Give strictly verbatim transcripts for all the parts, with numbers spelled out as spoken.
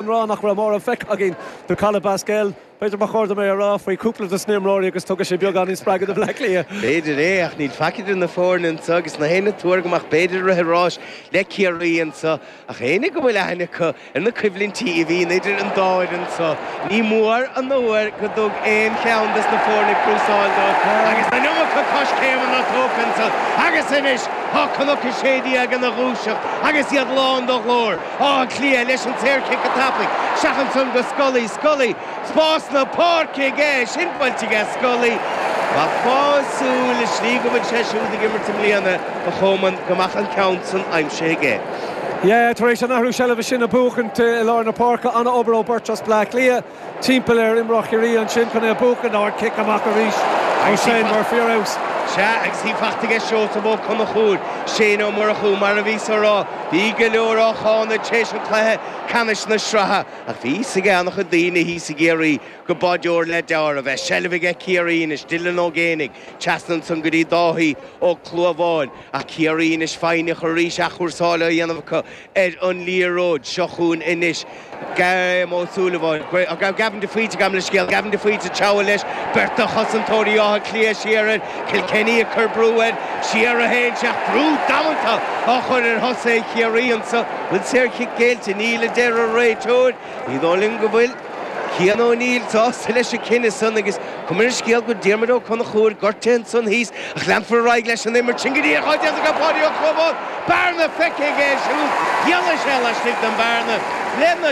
Rá nach raibh mórán feicthe againn de Colin Basquel. B'fhéidir ba chóir dom é a rá faoi chúpla de na himreoirí agus tugadh sé beagán spreagadh do Bleá Cliath. B'fhéidir é ach níl faic idir na foirne anseo agus na héinne tuar go mbeadh b'fhéidir rith ráis le Ciarraí anseo ach éinne go bhfuil aithne acu ar na coimhlintí a bhíonn idir an dá fhoireann anseo. Ní mór an uair go dtug aon cheann des na foirne crúsáil dó agus an iomarca coiscéimeanna tógtha anseo agus anois tá Cnoc a sé déag ina dhúiseacht agus iad lán de ghlór Áth Cliath leis an saorchic go tapaidh isteach ansan go Scully Scully spás na páirce aige sin buailte aige Scully Ba fásúil is slí go bhfuil sé siúd ag imirt i mbliana a choman go mbeadh an ceann san aimsithe aige. Yeah, tar éis an athrú seilbhe sin a bhuachaint i lár na páirce an-obair ó bheirt as Bleá Cliath timpeall ar imreoir Chiarraí ansin chun é a bhuachan ardchic amach arís ó Shane Murphy ar fheabhas. Sea agus í faighte aige Seosamh Ó Conchúir, Shane Ó Murchú mar a bhí sa rá, bhí go leor á cháineadh tar éis an chluiche ceannais na sraithe ach bhí fhios ag an-chuid daoine thíos i gCiarraí go b'fháideoir le deáramh é seilbh aige Ciarraí anois Dylan Ó Géanaigh trasna ansan go dtí Dáithí Ó Clúmháin ach Ciarraí anois foighneach arís athchúrsáil á dhéanamh acu ar an liathróid seo chugainn anois Graham Ó Súilleabháin Gavin de Faoite gabh mo leithscéal Gavin de Faoite treabhadh leis beirt de chosantóirí Átha Cliath siar air Kilkenny ag cur brú air siar a théann sé ach brú damanta á chur ar thosaithe Chiarraí anseo bhfuil saorchic géillte níl a deir an réiteoir ní dóigh liom go bhfuil Cian O'Neill sásta leis an cinneadh san agus cuma ar an scéal go Diarmuid Ó Conchúir gortaithe ansan thíos ach leanfar ar aghaidh leis an imirt sin go dtí dhá déanta aige Páidí Ó Clúmháin bearna feicthe aige siúd dhéanfaidh sé laistigh den bhearna lena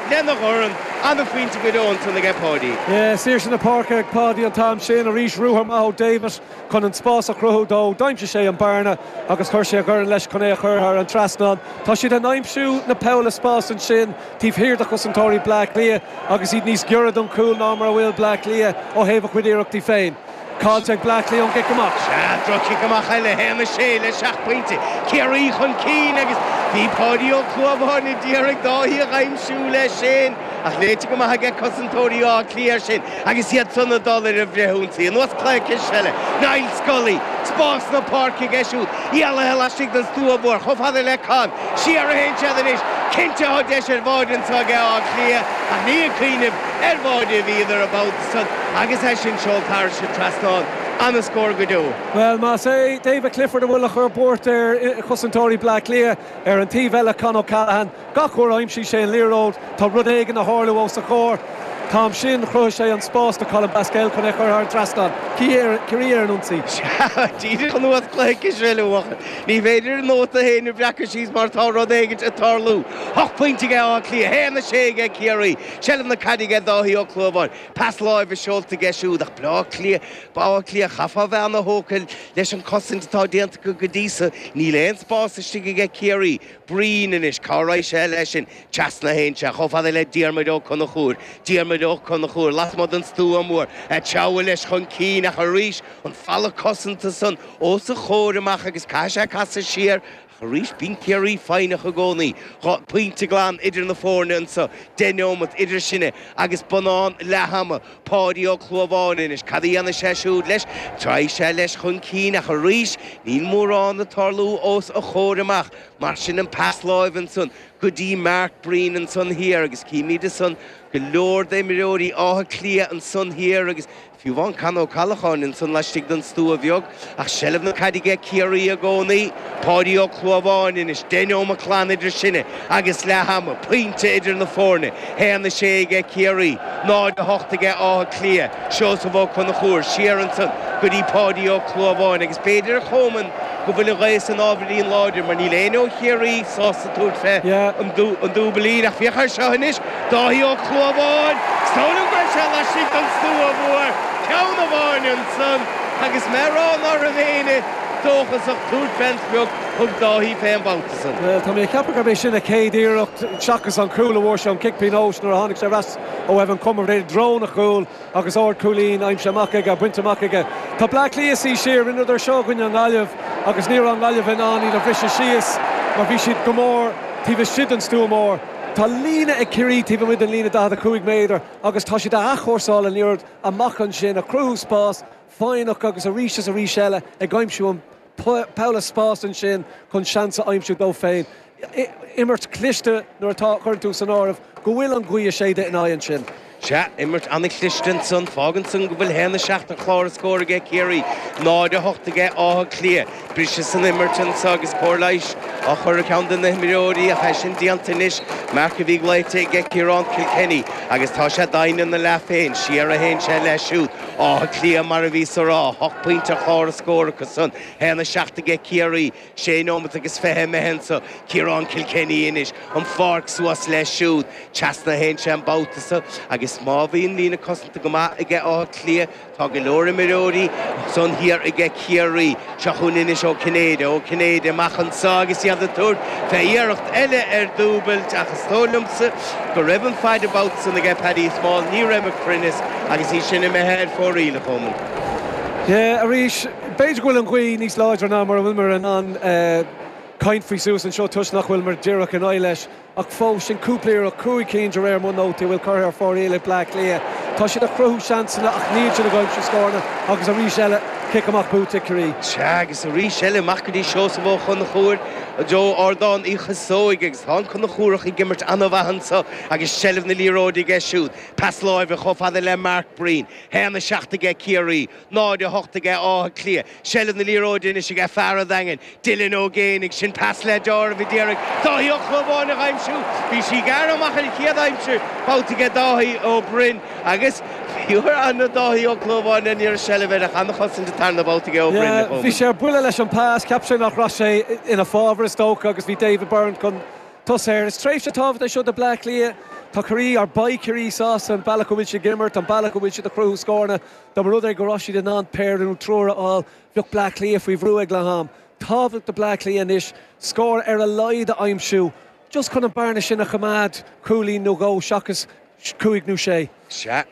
lena dhorn an-phointe go deo ansan aige Páidí. Yeah, saoirse na páirce ag Páidí an t-am sin arís ruathar maith ó David chun an spás a chruthú dó, d'aimsigh sé an bearna agus chuir sé a dhorn leis chun é a chur thar an trasnán. Tá siad in aimsiú na poll spás ansin taobh thiar de chosantóirí Bleá Cliath agus iad níos giorra don chúl ná mar a bhfuil Bleá Cliath ó thaobh a chuid iarrachtaí féin. Caillte ag Bleá Cliath ón gcic amach. Sea, droch-chic amach eile, haon a sé le seacht bpointe. Ciarraí chun cinn agus bhí Páidí Ó Clúmháin ag iarraidh Dáithí a aimsiú leis sin ach léite go maith aige cosantóirí Átha Cliath sin agus iad san ag dul ar an bhfrithionsaí. Anuas cluiche cispheile, Niall Scully, spás na páirce aige siúd, éalaithe laistigh den stua mhór, chomh fada le Con, siar a théann siad anois, cinnte tá deis ar bháide anseo aige Áth Cliath ach ní ag cuimhneamh ar bháide a bhíodar an babhta san agus é sin seolta thairis an trasnán an-scór go deo. Well más é David Clifford a bhfuil a chur buairt ar chosantóirí Bleá Cliath ar an taobh eile Con O'Callaghan, gach uair a aimsíonn sé an liathróid tá rud éigin ag tarlú os a chomhair. Tá sin chruthaigh sé an spás do Colin Basquel chun é chur thar an trasnán. Ciarraí ar an ionsaí. Díreach anuas cluiche cispheile Ní féidir an nóta féin a bhreacadh síos mar tá rud éigin ag tarlú. Ocht bpointe aige Áth Cliath, haon a sé aige Ciarraí, Seilbh na caide aige Dáithí Ó Clúmháin, pas láimhe seolta aige siúd ach Bleá Cliath, Átha Cliath chaithfeá bheith an-tógtha leis an cosaint atá déanta go dtí seo, níl aon spás istigh aige Ciarraí, Breen anois cá raibh sé leis sin trasna théann sé chomh fada le Diarmuid Ó Conchúir, Diarmuid Ó Conchúir, lasmuigh den stua mór, ag treabhadh leis chun cinn ach arís an falla cosanta san os a chomhair amach agus caithfidh sé casadh siar ach arís bíonn Ciarraí foighneach i gcónaí. Dhá pointe glan idir na foirne anseo, deich nóiméad idir sinne agus bonnán leath ama. Páidí Ó Clúmháin anois, cad a dhéanfaidh sé siúd leis? Treabhfaidh sé leis chun cinn ach arís níl mórán ag tarlú os a chomhair amach. Mar sin an pas láimhe ansan go dtí Mark Breen ansan thiar agus címid ansan go leor d'imreoirí Átha Cliath ansan thiar agus fiú amháin Con Ó Callacháin ansan laistigh den stua bheag ach seilbh na caide aige Ciarraí i gcónaí, Páidí Ó Clúmháin anois, deich nóiméad glan idir sinne agus leath ama, pointe idir na foirne, haon a sé aige Ciarraí, náid a hocht aige Áth Cliath, Seosamh Ó Conchúir siar ansan go dtí Páidí Ó Clúmháin agus b'fhéidir a Choman go bhfuil an ghaoth san ábhairín láidir mar níl éinne ó Chiarraí sásta tabhairt fé an dúbailín ach féach air seo anois, Dáithí Ó Clúmháin, is dóigh liom go raibh sé laistigh den stua mhór, ceann amháin ansan agus mé ag rá ná raibh éinne dóchasach tabhairt fén sprioc, thug Dáithí fé an babhta san. Bhuel, tá mé ag ceapadh gurb é sin a chéad iarracht seachas an cúl a bhfuair sé an cic pionóis nuair a tháinig sé ar ais ó Evan Comerford i dtreo an chúil agus ardchúilín aimsithe amach aige, bainte amach aige. Tá Bleá Cliath suí siar, rinneadar seo i gcoinne an Ghaillimh agus ní raibh an Ghaillimh in ann iad a bhriseadh síos mar bhí siad go mór taobh istigh den stua mór. Tá líne ag Ciarraí taobh amuigh den líne daichead a cúig méadar agus tá siad a athchúrsáil an liathróid amach ansin, ag cruthú spás foighneach agus arís is arís eile ag aimsiú an poll spás ansin chun seans a aimsiú dó féin. Imirt cliste nuair atá chuireann tú san áireamh go bhfuil an ghaoth ag séideadh ina aghaidh ansin. Sea, imirt an-chliste ansan, fágann san go bhfuil haon a seacht ar chlár an scóir aige Ciarraí, náid a hocht aige Áth Cliath. Briseadh san imirt anso agus cóir leighis á chur ar cheann de na himreoirí ach é sin déanta anois, marc a bhí glaoite aige Ciarán Kilkenny agus tá sé daingean ina leath féin, siar a théann sé leis siúd. Áth Cliath mar a bhíos a rá, hocht bpointe ar chlár an scóir acu san, haon a seacht aige Ciarraí, sé nóimeat agus fiche imithe anso, Ciarán Kilkenny anois, an pháirc suas leis siúd, trasna a théann sé an babhta so agus má bhíonn líne cosanta go maith aige Áth Cliath, tá go leor imreoirí san thiar aige Ciarraí. Seo chugainn anois Ó Cinnéide, Ó Cinnéide amach anso agus iad ag tabhairt fé iarracht eile ar dúbailt ach is dóigh liomsa go raibh an fead an babhta san aige Paddy Small, ní raibh an cruinneas agus í sin imithe ar fóraoil, a Chomáin. Yeah, arís, b'fhéidir go bhfuil an ghaoth níos láidre ná mar a bhfuil in ann caint faoi suas anseo toisc nach bhfuil mar díreach in aghaidh leis. Ach fós sin cúpla iarracht cúig cinn de réir mo nótaí a bhfuil curtha ar fóraoil ag Bleá Cliath. Tá siad ag cruthú seansanna ach níl siad ag aimsiú scóranna agus arís eile cic amach buaite ag Ciarraí. Sea, agus arís eile amach go dtí Seosamh Ó Conchúir, Joe Ardán Uí Chasóig agus tá an Conchúrach ag imirt an-mhaith anso agus seilbh na liathróide aige siúd. Pas láimhe chomh fada le Mark Breen. Haon a seacht aige Ciarraí, náid a hocht aige Áth Cliath. Seilbh na liathróide anois aige fear an Daingin, Dylan Ó Géibheannaigh, sin pas le deáramh a d'iarraidh Dáithí Ó Clúmháin a aimsiú. Bhí sí gearr amach ar an chéad aimsir babhta aige Dáithí Ó Broin agus bhí an Dáithí Ó Clúmháin an iarraidh seilbh ar a an-chosaint an tarna babhta aige Ó Broin. Bhí sé ar buile leis an pas, cheap sé nach raibh sé ina fábhar is dócha agus bhí David Byrne chun tosaigh. Is tréimhse tábhachtach seo do Bleá Cliath. Tá Ciarraí ar beidh Ciarraí sásta an bealach go bhfuil siad ag imirt, an bealach go bhfuil siad ag cruthú scóranna. Dá mba rud é go raibh siad in ann péire nó triúr a fháil, bheadh Bleá Cliath faoi bhrú ag leath am. Tábhacht do Bleá Cliath anois, scór ar a laghad a aimsiú, just chun an bearna sin a choimeád cúilín nó dhó seachas cúig nó sé. Sea.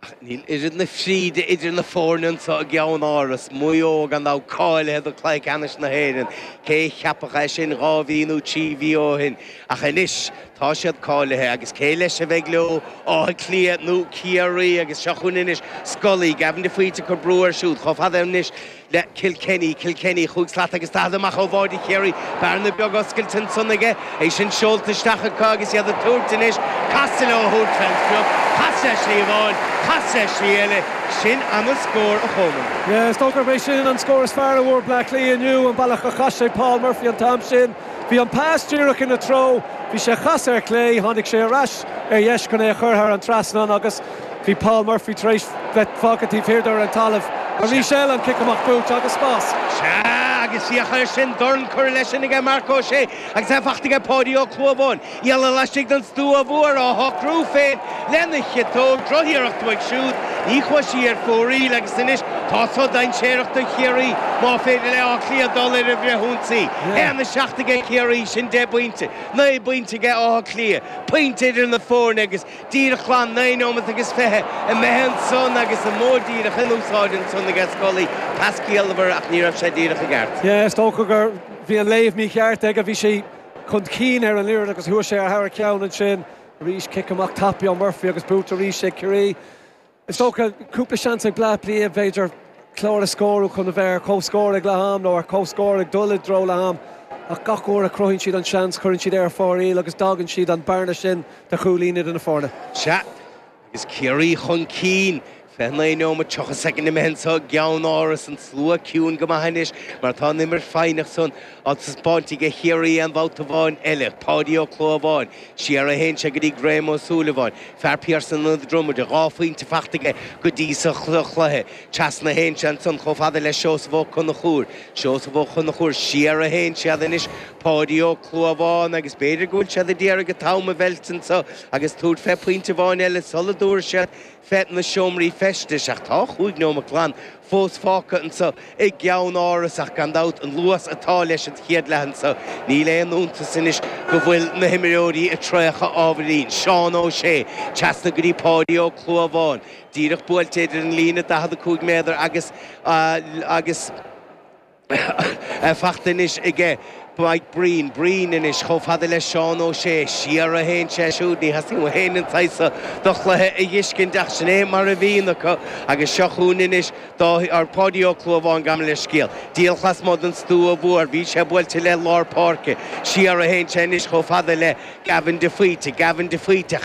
Ach níl oiread na fríde idir na foirne anseo i gceann áras, Maigh Eo gan dabht cáilithe do chluiche ceannais na hÉireann, cé cheapfadh é sin dhá mhí nó trí mhí ó shin. Ach anois tá siad cáilithe agus cé leis a bheidh leo Áth Cliath nó Ciarraí agus seo chugainn anois Scully, Gavin de Faoite ag cur brú air siúd chomh fada anois le Kilkenny, Kilkenny chúig slat agus daichead amach ó bháide Chiarraí, bearna beag oscailte ansan aige, é sin seolta isteach acu agus iad ag tabhairt anois casadh leo a thabhairt fén sprioc, casadh slí amháin, casadh slí eile, sin an-scór a Chomáin. Yeah, is dócha gurb é sin an scór is fearr a bhfuair Bleá Cliath inniu an bealach a chaith sé Paul Murphy an t-am sin. Bhí an pas díreach ina treo, bhí sé chas ar clé, tháinig sé ar ais ar dheis chun é a chur thar an trasnán agus bhí Paul Murphy tar éis bheith fágtha taobh thiar ar an talamh. Arís eile an cic amach buaite agus spás. Sea, agus féach air sin dorn curtha leis sin aige Marc Ó Sé agus é faighte aige Páidí Ó Clúmháin. Ialla laistigh den stua mhór á shocrú féin lena chiotóg drochiarracht uaidh siúd. Ní chuaigh sí ar fóraoil agus anois tá so dainséarach do Chiarraí má féidir le Áth Cliath dul ar an bhfrithionsaí. Haon a seacht aige Ciarraí sin deich bpointe, naoi bpointe aige Áth Cliath, pointe idir na foirne agus díreach glan naoi nóiméad agus fiche imithe ansan agus an modh díreach in úsáid ansan aige Scully pas ciallmhar ach ní raibh sé díreach i gceart. Yeah, is dócha gur bhí an léamh mícheart aige, bhí sé chun cinn ar an liathróid agus chuaigh sé thar a cheann ansin. Arís cic amach tapaidh ó Murphy agus buaite arís ag Ciarraí. Is dócha cúpla seans ag Bleá Cliath b'fhéidir clár a scóru chun a bheith ar comhscór ag leath am nó ar comhscór ag dul i dtreo leath am. Ach gach uair a chruthaíonn siad an seans cuireann siad ar fóraoil agus d'fhágann siad an bearna sin de chúilín idir na foirne. Sea, agus Ciarraí chun cinn. Fiche naoi nóiméad tríocha soicind imithe anseo i gceann áras an slua ciúin go maith anois mar tá an imirt foighneach san á taispeáint aige Chiarraí aon bhabhta amháin eile. Páidí Ó Clúmháin, siar a théann sé go dtí Graham Ó Súilleabháin, fear Pearson na Dromaide, dhá phointe faighte aige go dtí sa chluiche. Trasna a théann sé ansan chomh fada le Seosamh Ó Conchúir. Seosamh Ó Conchúir siar a théann siad anois Páidí Ó Clúmháin agus b'fhéidir go bhfuil siad ag iarraidh an t-am a mheilt anseo agus tabhairt fé phointe amháin eile sula dtabharfaidh siad fé na seomraí feistis ach tá chúig nóiméad glan fós fágtha anseo i gceann áras ach gan dabht an luas atá leis an chéad leath anseo. Níl aon iontas anois go bhfuil na himreoirí ag traochadh ábhairín. Seán Ó Sé, trasna go dtí Páidí Ó Clúmháin, díreach buailte idir an líne daichead a cúig méadar agus agus faighte anois aige Mike Breen Breen anois chomh fada le Seán Ó Sé siar a théann sé siúd ní theastaíonn uainn an t-saghas do chluiche a fheiscint ach sin é mar a bhíonn acu agus seo chugainn anois ar Páidí Ó Clúmháin gabh mo leithscéal. Díreach lasmuigh den stua mhór, bhí sé buailte le lár páirce, siar a théann sé anois chomh fada le Gavin de Faoite, Gavin de Faoite an